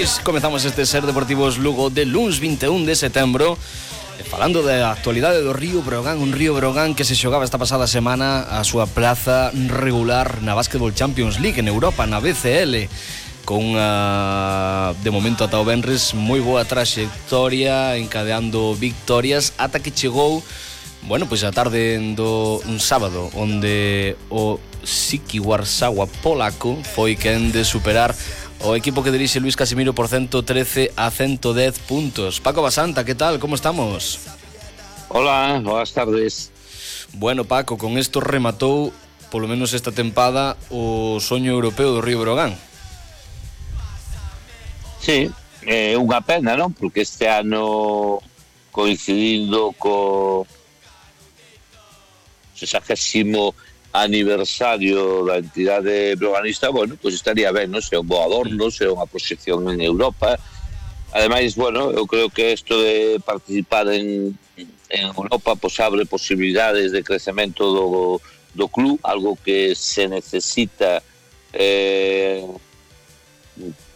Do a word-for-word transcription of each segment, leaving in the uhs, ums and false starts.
pois comezamos este Ser Deportivos Lugo de luns vinte e un de setembro, falando da actualidade do Río Breogán, un Río Breogán que se xogaba esta pasada semana a súa plaza regular na Basketball Champions League en Europa, na B C L, con uh, de momento ata o venres moi boa traxectoria, encadeando victorias ata que chegou, bueno, pois a tarde do un sábado, onde o Siki Warsawa polaco foi quen de superar o equipo que dirixe Luis Casimiro por ciento trece a ciento dez puntos. Paco Basanta, que tal? Como estamos? Hola, boas tardes. Bueno, Paco, con isto rematou, polo menos esta tempada, o soño europeo do Río Breogán. Sí, é eh, unha pena, non? Porque este ano, coincidindo co sexagésimo aniversario da entidade breoganista, bueno, pois pues estaría ben, non? Se é un bo adorno, se é unha proxección en Europa. Ademais, bueno, eu creo que isto de participar en, en Europa pues abre posibilidades de crecemento do, do club, algo que se necesita eh,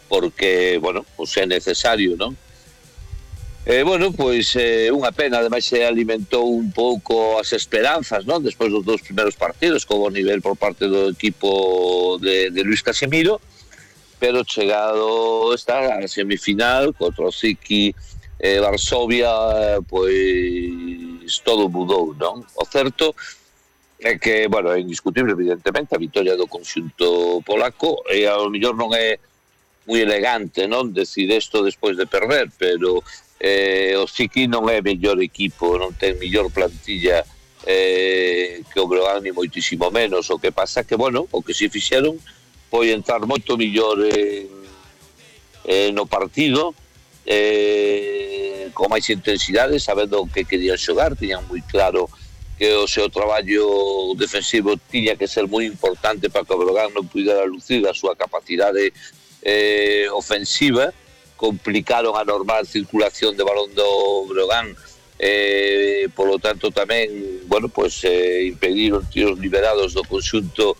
porque, bueno, pues é necesario, non? Eh, bueno, pois é eh, unha pena, ademais se alimentou un pouco as esperanzas, non? Despois dos dous primeiros partidos, con o nivel por parte do equipo de, de Luis Casimiro, pero chegado está a semifinal contra o Siki eh, Varsovia, pois todo mudou, non? O certo é que, bueno, é indiscutible, evidentemente, a vitória do conxunto polaco, e ao mellor non é moi elegante, non? Decir isto despois de perder, pero Eh, o Siki non é mellor equipo, non ten mellor plantilla eh, que o Breogán, ni moitísimo menos. O que pasa que, bueno, o que si fixeron foi entrar moito mellor eh, eh, no partido, eh, con máis intensidade, sabendo que querían xogar, tiñan moi claro que o seu traballo defensivo tiña que ser moi importante para que o Breogán non pudera lucir a súa capacidade eh, ofensiva. Complicaron a normal circulación de balón do Breogán, eh, polo tanto tamén, bueno, pues eh, impediron tiros liberados do conxunto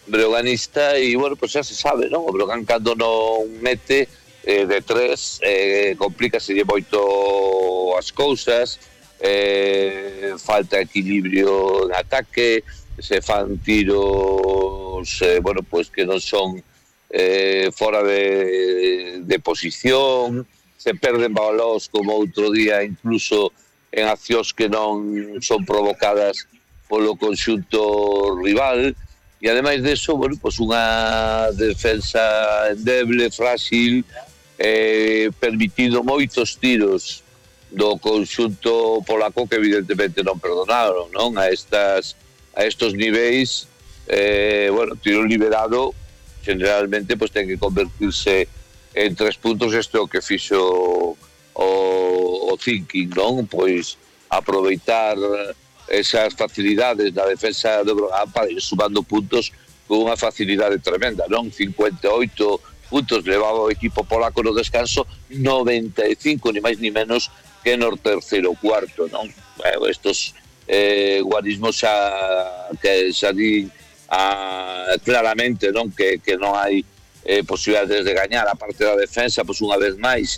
breoganista, e bueno, pues xa se sabe, non? O Breogán cando non mete eh, de tres, eh, complícase moito as cousas, eh, falta equilibrio en ataque, se fan tiros, eh, bueno, pues que non son Eh, fora de, de posición, se perden balóns como outro día, incluso en accións que non son provocadas polo conxunto rival, e ademais deso, bueno, pues unha defensa endeble, frágil, eh, permitido moitos tiros do conxunto polaco que evidentemente non perdonaron, non? A estas a estos niveis, eh, bueno, tiro liberado generalmente pues ten que convertirse en tres puntos. Isto é o que fixo o, o thinking, non? Pois aproveitar esas facilidades da defensa do Breogán para ir sumando puntos con unha facilidade tremenda, non? cincuenta e oito puntos levaba o equipo polaco no descanso, noventa e cinco, ni máis ni menos que no terceiro cuarto, non? Bueno, estos eh, guarismos xa que xa din Ah, claramente, non? Que, que non hai eh, posibilidades de gañar a parte da defensa, pois unha vez máis,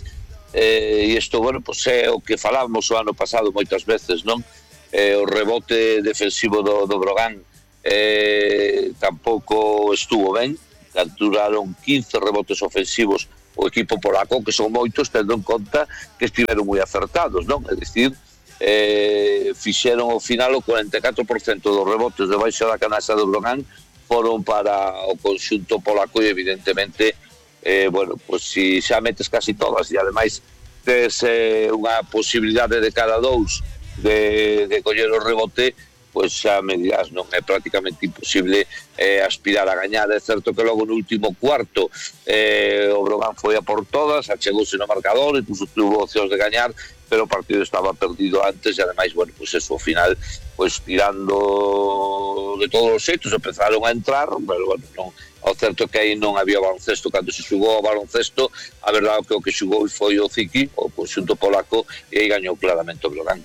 eh, e isto, bueno, pois é o que falamos o ano pasado moitas veces, non? Eh, o rebote defensivo do, do Breogán eh, tampouco estuvo ben, capturaron quince rebotes ofensivos o equipo polaco, que son moitos, tendo en conta que estiveron moi acertados, non? É dicir, Eh, fixeron ao final o cuarenta e catro por cento dos rebotes debaixo da canasta do Breogán foron para o conxunto polaco, e evidentemente eh, bueno, pues si xa metes casi todas e ademais tes eh, unha posibilidade de cada dous de, de coller o rebote, pois xa me dirás, non é prácticamente imposible eh, aspirar a gañar. É certo que logo no último cuarto eh, o Breogán foi a por todas, achegouse no marcador, incluso tuvo opcións de gañar, pero o partido estaba perdido antes, e ademais, bueno, pues eso, ao final, pues tirando de todos os xeitos, empezaron a entrar, pero bueno, non, ao certo que aí non había baloncesto. Cando se xugou o baloncesto, a verdade que o que xugou foi o Siki, o conxunto polaco, e aí gañou claramente o Breogán.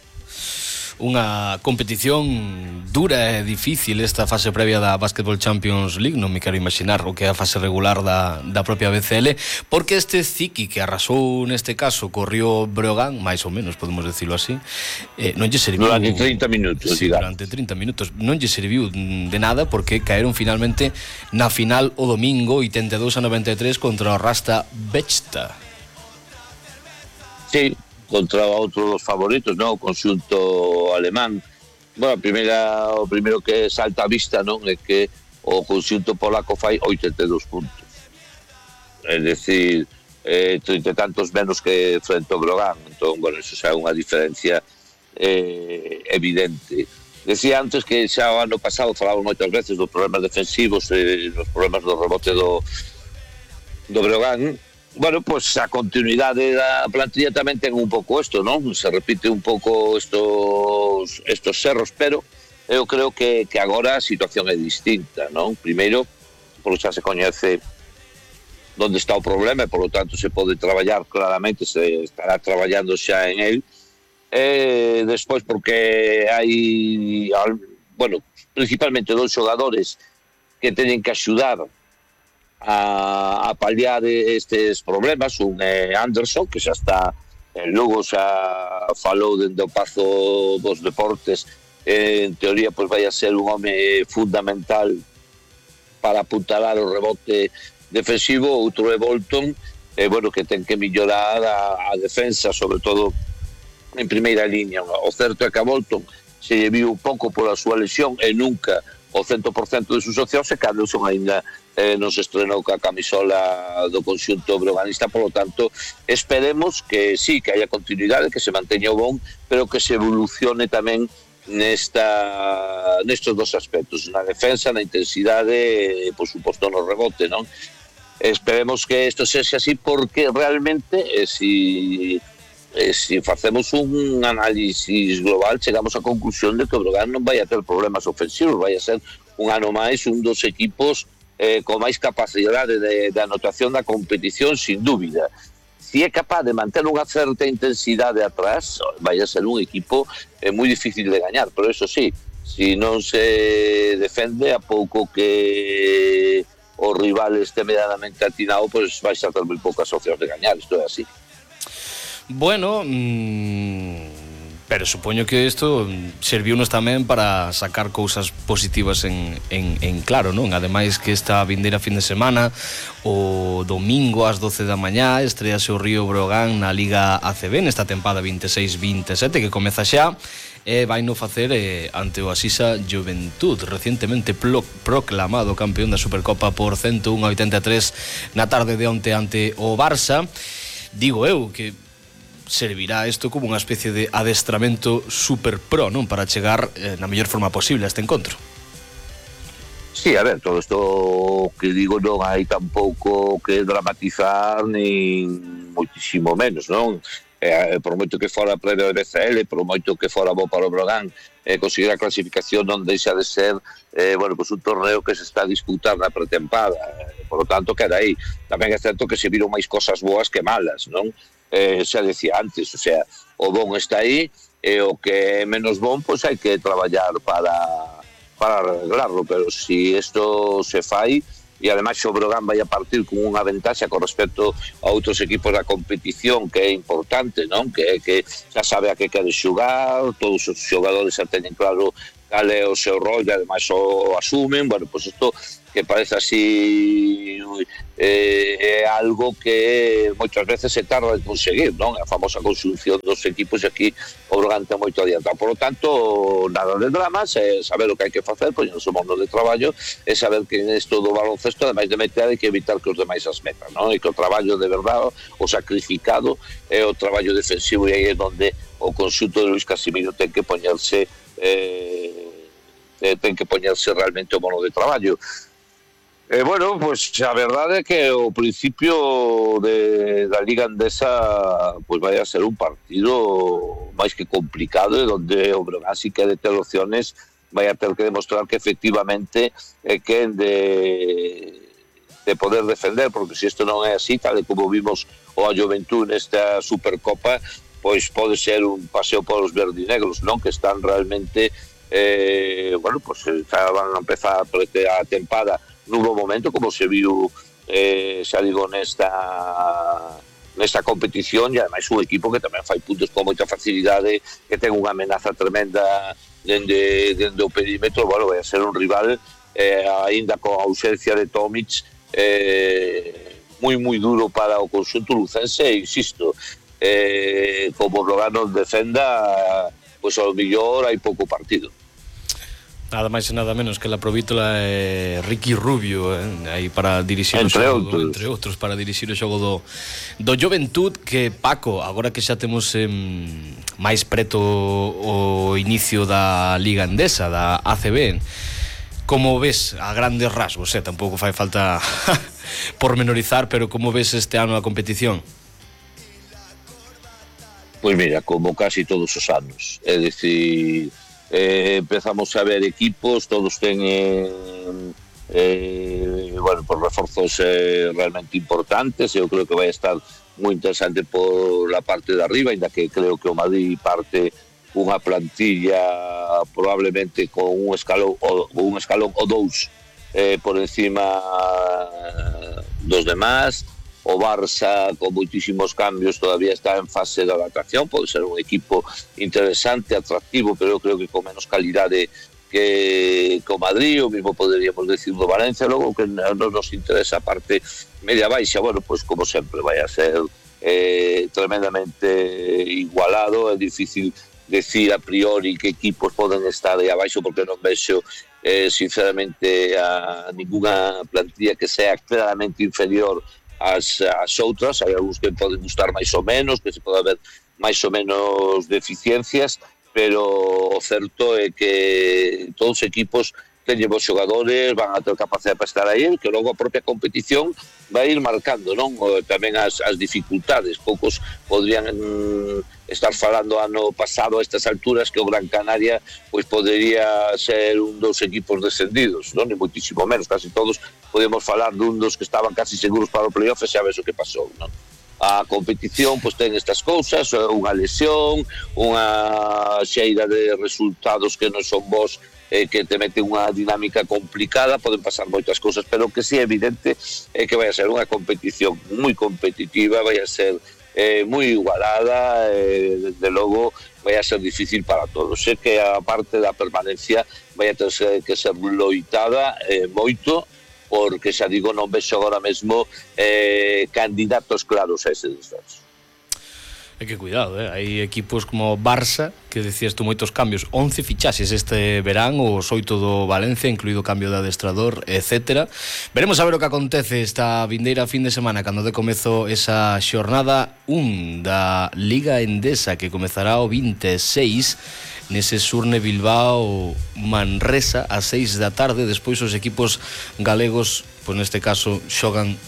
unha competición dura e difícil esta fase previa da Basketball Champions League. Non me quero imaginar o que é a fase regular da, da propia B C L, porque este Ziki que arrasou neste caso corrió Breogán, máis ou menos podemos decirlo así, eh, non lle serviu durante trinta minutos, sí, durante trinta minutos non lle serviu de nada, porque caeron finalmente na final o domingo oitenta e dous a noventa e tres contra o Rasta Bechta. Sí, contra outro dos favoritos, non? O conxunto alemán. Bueno, a primeira, o primeiro que salta a vista, non, é que o conxunto polaco fai oitenta e dous puntos. É dicir, eh, trinta e tantos menos que frente ao Breogán. Entón, bueno, eso xa é unha diferencia eh, evidente. Decía antes que xa o ano pasado falamos moitas veces dos problemas defensivos e eh, dos problemas do rebote do, do Breogán. Bueno, pues a continuidade da plantilla tamén ten un pouco isto, non? Se repite un pouco estos estos erros, pero eu creo que, que agora a situación é distinta, non? Primeiro, por xa se coñece onde está o problema e, por lo tanto, se pode traballar claramente, se estará traballando xa en el. E despois, porque hai, bueno, principalmente dos xogadores que teñen que axudar a, a paliar estes problemas. Un é Anderson, que xa está en Lugo, xa falou dende o Pazo dos Deportes, eh, en teoría pois vai a ser un home fundamental para apuntalar o rebote defensivo. Outro é Bolton, eh, bueno, que ten que mellorar a, a defensa, sobre todo en primeira línea. O certo é que a Bolton se lle viu un pouco pola súa lesión e nunca o cento por cento de sus opcións, e Carlson ainda eh, non se estrenou ca camisola do conxunto breoganista. Por lo tanto, esperemos que sí, que haya continuidade, que se manteña o bon, pero que se evolucione tamén nesta nestes dos aspectos, na defensa, na intensidade e, por suposto, no rebote, non? Esperemos que isto sexa así, porque realmente, eh, si eh, si facemos un análisis global, chegamos á conclusión de que o Breogán non vai a ter problemas ofensivos, vai a ser un ano máis un dos equipos eh, con máis capacidade de, de anotación da competición, sin dúbida. Si é capaz de manter unha certa intensidade atrás, vai a ser un equipo eh, moi difícil de gañar, pero eso sí, si non se defende, a pouco que o rival este medianamente atinado, pues vais a ter moi poucas opcións de gañar. Isto é así. Bueno, mmm, pero supoño que isto serviunos tamén para sacar cousas positivas en, en, en claro, non? Ademais que esta vindeira fin de semana, o domingo ás doce da mañá, estrease o Río Breogán na Liga A C B nesta tempada vinte e seis vinte e sete que comeza xa, e vai no facer eh, ante o Asisa Juventud, recientemente pro, proclamado campeón da Supercopa por ciento un a oitenta e tres na tarde de onte ante o Barça. Digo eu que servirá isto como unha especie de adestramento super pro, non? Para chegar eh, na mellor forma posible a este encontro. Sí, a ver, todo isto que digo non hai tampouco que dramatizar, nin moitísimo menos, non? Eh, por moito que fora previo de B C L, por moito que fora bo para o Breogán, eh, conseguir a clasificación non deixa de ser eh, bueno, pues un torneo que se está a disputar na pretempada, eh, por lo tanto queda aí. Tamén é certo que se viron máis cosas boas que malas, non? Eh, xa decía antes, o sea, o bon está aí, e o que é menos bon, pois hai que traballar para, para arreglarlo, pero si isto se fai, e ademais o Breogán vai a partir con unha ventaxa con respecto a outros equipos da competición, que é importante, non? Que, que xa sabe a que quere xugar, todos os xogadores xa teñen claro cal é o seu rol, e ademais o asumen. Bueno, pois isto que parece así eh, é algo que moitas veces se tarda en conseguir, non? A famosa conxunción dos equipos, e aquí o Breogán ten moito adiantado. Por lo tanto, nada de dramas, é saber o que hai que facer, poñerse o mono de traballo, é saber que isto do baloncesto, ademais de meter, hai que evitar que os demais as metan, non? E que o traballo de verdade, o sacrificado, é o traballo defensivo, e aí é onde o conxunto de Luis Casimiro ten que poñerse eh, ten que poñerse realmente o mono de traballo. Eh, bueno, pues a verdade é que o principio de, da Liga Andesa pues vai a ser un partido máis que complicado, e onde o Breogán si quere ter opciones vai a ter que demostrar que efectivamente é quen de, de poder defender, porque se isto non é así, tal e como vimos o a Juventud nesta Supercopa, pois pode ser un paseo polos verdinegros, non? Que están realmente eh, bueno, pois xa van a empezar a tempada nun bo momento, como se viu eh, xa digo nesta nesta competición, e ademais un equipo que tamén fai puntos con moita facilidade, que ten unha amenaza tremenda dende, dende o perímetro. Bueno, vai a ser un rival eh, aínda con a ausencia de Tomic eh, moi moi duro para o conxunto lucense, e insisto, eh, como Logano defenda, pois ao mellor hai pouco partido. Nada máis e nada menos que la provítola é Ricky Rubio, eh, aí para dirixir entre o xogo, outros. entre outros, para dirixir o xogo do, do Juventud, que Paco, agora que xa temos eh, máis preto o inicio da Liga Endesa, da A C B, como ves a grandes rasgos, eh, tampouco fai falta pormenorizar, pero como ves este ano a competición? Pois mira, como casi todos os anos, é dicir, eh, empezamos a ver equipos, todos teñen eh, bueno, por reforzos eh, realmente importantes. Eu creo que vai estar moi interesante por la parte de arriba, ainda que creo que o Madrid parte unha plantilla probablemente con un escalón o un escalón o dous eh, por encima dos demás. O Barça, con moitísimos cambios, todavía está en fase de adaptación. Pode ser un equipo interesante, atractivo, pero eu creo que con menos calidade que o Madrid, o mismo poderíamos decir do Valencia. Logo que non nos interesa a parte media baixa, bueno, pois como sempre vai a ser eh, tremendamente igualado. É difícil decir a priori que equipos poden estar aí abaixo, porque non vexo eh, sinceramente a ninguna plantilla que sea claramente inferior As, as outras. Hai algúns que poden gustar máis ou menos, que se pode haber máis ou menos deficiencias, pero o certo é que todos os equipos teñen bons xogadores, van a ter capacidade para estar aí, que logo a propia competición vai ir marcando, non? Tamén as, as dificultades. Poucos podrían mm, estar falando ano pasado a estas alturas que o Gran Canaria pois podería ser un dos equipos descendidos, non? Ni moitísimo menos, casi todos podemos falar dun dos que estaban casi seguros para o playoff, e xa ves o que pasou, non? A competición pois ten estas cousas, unha lesión, unha xeira de resultados que non son bons, eh, que te mete unha dinámica complicada. Poden pasar moitas cousas, pero o que sí é evidente é que vai a ser unha competición moi competitiva, vai a ser eh, moi igualada, eh, desde logo vai a ser difícil para todos. Sé que a parte da permanencia vai a ter que ser loitada eh, moito, porque xa digo, non vexo agora mesmo eh, candidatos claros a ese descenso. É que cuidado, eh? Hai equipos como Barça, que decías tú moitos cambios, once fichaxes este verán, os oito do Valencia, incluído cambio de adestrador, etcétera. Veremos a ver o que acontece esta vindeira fin de semana, cando de comezo esa xornada un da Liga Endesa, que comezará o vinte e seis, nese Surne Bilbao Manresa a seis da tarde. Despois os equipos galegos, pois neste caso, xogan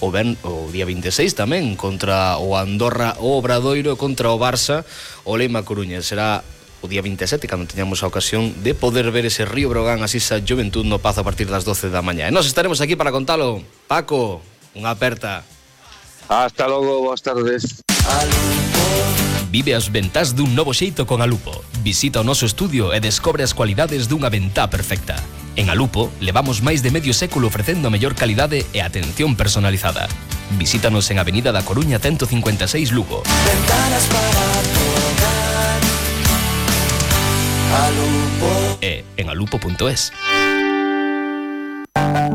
o, ben, o día vinte e seis tamén contra o Andorra o Obradoiro, contra o Barça o Leima Coruña. Será o día vinte e sete cando teñamos a ocasión de poder ver ese Río Brogan así esa Juventud no Pazo a partir das doce da mañá. E nós estaremos aquí para contalo. Paco, unha aperta. Hasta logo, boas tardes. Vive as ventás dun novo xeito con Alupo. Visita o noso estudio e descobre as cualidades dunha ventá perfecta. En Alupo levamos máis de medio século ofrecendo a mellor calidade e atención personalizada. Visítanos en Avenida da Coruña ciento cincuenta e seis Lugo. Ventanas para tu hogar. Alupo. E en alupo punto es.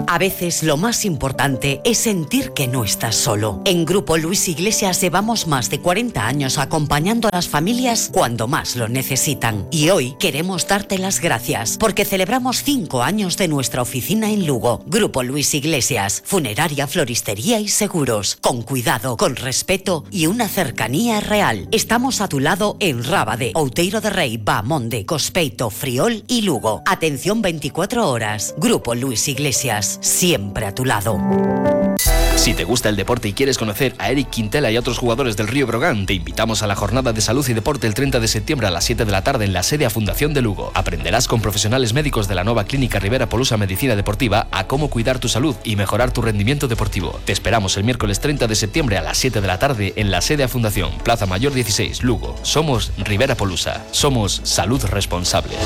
A veces lo más importante es sentir que no estás solo. En Grupo Luis Iglesias llevamos más de cuarenta años acompañando a las familias cuando más lo necesitan. Y hoy queremos darte las gracias porque celebramos cinco años de nuestra oficina en Lugo. Grupo Luis Iglesias, funeraria, floristería y seguros. Con cuidado, con respeto y una cercanía real. Estamos a tu lado en Rábade, Outeiro de Rei, Bamonde, Cospeito, Friol y Lugo. Atención veinticuatro horas. Grupo Luis Iglesias, siempre a tu lado. Si te gusta el deporte y quieres conocer a Eric Quintela y otros jugadores del Río Brogan, te invitamos a la Jornada de Salud y Deporte el treinta de septiembre a las siete de la tarde en la sede a Fundación de Lugo. Aprenderás con profesionales médicos de la nueva Clínica Rivera Polusa Medicina Deportiva a cómo cuidar tu salud y mejorar tu rendimiento deportivo. Te esperamos el miércoles treinta de septiembre a las siete de la tarde en la sede a Fundación, Plaza Mayor dieciséis, Lugo. Somos Rivera Polusa. Somos salud responsable.